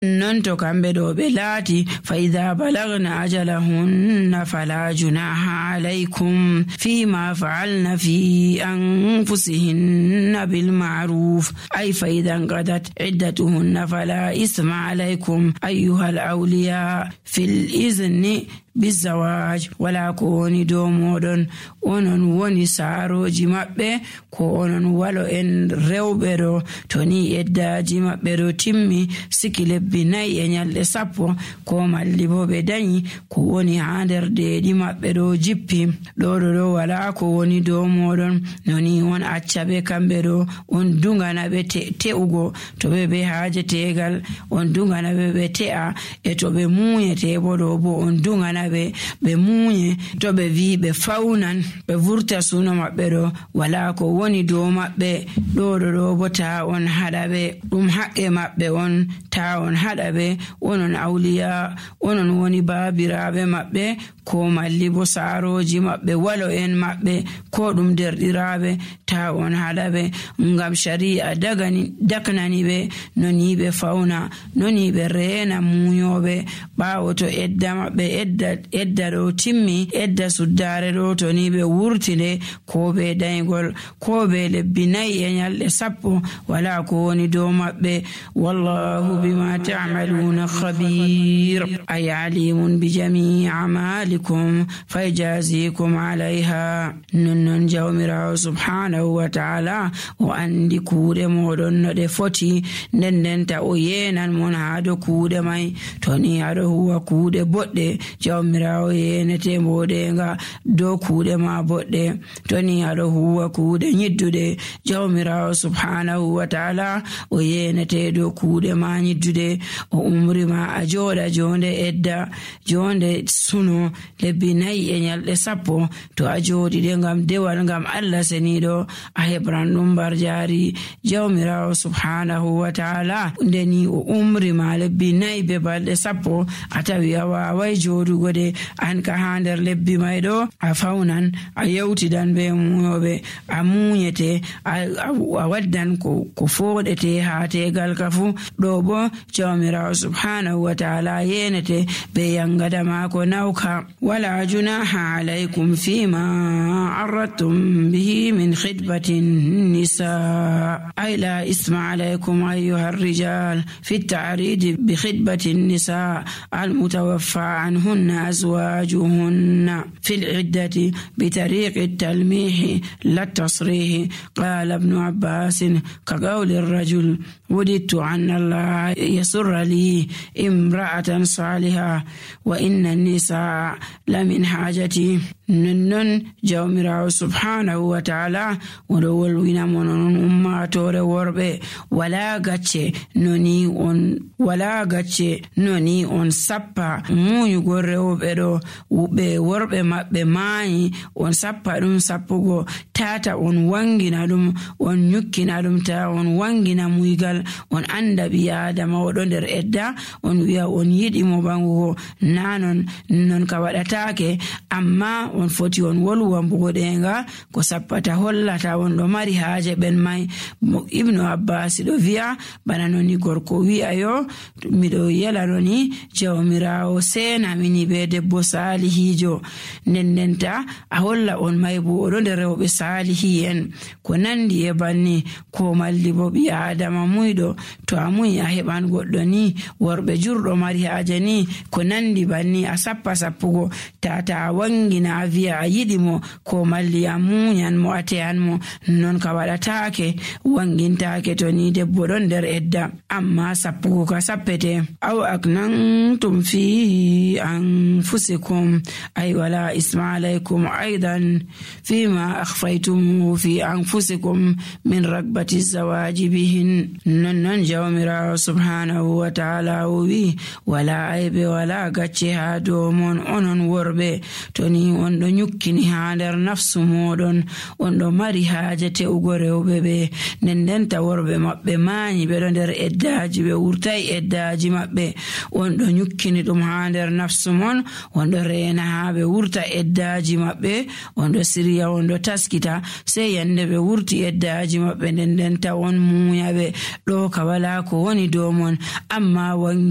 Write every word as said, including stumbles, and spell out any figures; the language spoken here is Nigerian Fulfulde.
non to kamɓe ɗo ɓe laati fa idha balagna ajalahunna fala junaha alaykum fima fa'alna fi anfusihinna bil ma'ruf ay fa idha qadat iddatuhunna fala isma alaykum ayyuhal awliya fil izni bizawaj wala ko woni dow moɗon onon woni saaroji maɓɓe ko onon walo en rewɓe ɗo to ni eddaji maɓɓe ɗo timmi siki lebbi nayi e nyalɗe sappo ko malli bo ɓe dañi ko woni ha nder deeɗi maɓɓe ɗo jippi ɗo ɗo ɗo wala ko woni dow moɗon noni on acca ɓe kamɓe ɗo on dungana ɓe te te'ugo to ɓe ɓe haaje tegal on dungana ɓe ɓe te'a e to ɓe muuyete bo ɗo bo on dungana ɓe ɓe muuye to ɓe wi ɓe fawnan ɓe vurta suno maɓɓe ɗo wala ko woni dow maɓɓe ɗo ɗo ɗo bo ta on haɗa ɓe ɗum haqqe maɓɓe on ta on haɗa ɓe onon awliya onon woni baabiraɓe maɓɓe ko malli bo saaroji maɓɓe walo en maɓɓe ko ɗum derɗiraɓe ta on haɗa ɓe ngam shari'a dagani daknani ɓe noni ɓe fawna noni ɓe reena muuyoɓe ɓawo to edda maɓɓe edda edda ɗo timmi edda suddare ɗo to ni ɓe wurtide ko ɓe daygol ko ɓe lebbi nayi e nyalɗe sappo wala ko woni dow maɓɓe wallahu bima ta'maluna khabir ay alimun bi jami'i a'malikum fayjazikum alayha nonnon jawmirawo subhanahu wa ta'ala o andi kuuɗe moɗon no ɗe foti nden ndenta o yenan mon ha do kuuɗe mai to ni aɗo huwa kuuɗe boɗɗe jawmirawo yenete mboɗenga dow kuuɗe ma boɗɗe to ni aɗo huwa kuuɗe nyidduɗe jawmirawo subhanahu wa ta'ala o yenete dow kuuɗe ma nyidduɗe o umri ma a joɗa jonde edda jonde suno lebbi nayi e nyalɗe sappo to a joɗiɗe ngam dewal ngam Allah seniɗo a heɓran ɗum bar jari jawmirawo subhanahu wa ta'ala ndeni o umri ma lebbi nayi be balɗe sappo a tawi a wawai joɗugo de an ka ha nder lebbi may ɗo a fawnan a yewtidan be muyoɓe a muñete a waddan ko ko foɗete ha tegal ka fu ɗo bo jawmirawo subhanahu wa ta'ala yenete be yangada mako nawka wala junaha alaykum fima arradtum bihi min khidbatin nisa ay la isma alaykum ayyuha ar-rijal fi at-ta'rid bi khidbatin nisa al-mutawaffa anhunna azwajuhunna fi al-iddati bi tariq at-talmih la at-tasrih qala ibn abbas ka qawli ar-rajul وددت أن الله يسر لي امرأة صالحة وإن النساء لمن حاجتي ننن جawmirawo subhanahu wa ta'ala oɗo wolwina monon ummatore worɓe wala gacce noni on wala gacce noni on sappa muñugo rewɓe ɗo ɓe worɓe maɓɓe maayi on sappa ɗum sappugo tata on wangina ɗum on nyukkina ɗum ta on wangina muygal on anda ɓi adama oɗo nder edda on wi'a on yiɗi mo bangugo nanon non ka waɗatake amma on foti on wolwa mbugoɗenga ko sappata hollata on ɗo mari haaje ɓen mai ibnu abbas ɗo wi'a bana noni gorko wi'a yo miɗo yela noni jawmirawo sena mini be debbo salihijo ndendenta a holla on mai bo oɗo nder rewɓe salihi en ko nandi e banni ko malli bo ɓi adama muyɗo to a muyi a heɓan goɗɗo ni worɓe jurɗo mari haaje ni ko nandi banni a sappa sappugo tata a wangina a wi'a a yiɗi mo ko malli a muñan mo a teyan mo non ka waɗatake wangintake to ni debbo ɗon nder edda amma sappugo ka sappete aw aknantum fi anfusikum ay wala isma alaykum aidan fima akhfaytum fi anfusikum min ragbati zawaji bihin non non jawmirawo subhanahu wa ta'ala wi wala aybe wala gacce ha dow mon onon worɓe to ni on ɗo nyukkini ha nder nafsu moɗon on ɗo mari haaje te'ugo rewɓe ɓe nden ndenta worɓe maɓɓe mañi ɓeɗo nder eddaji ɓe wurtai eddaji maɓɓe on ɗo nyukkini ɗum ha nder nafsu mon on on ɗo reena haa ɓe wurta eddaji maɓɓe, on ɗo sirya on ɗo taskita, sei yande ɓe wurti eddaji maɓɓe nden nden ta on muuya ɓe ɗo ka wala ko woni dow mon. Amma wange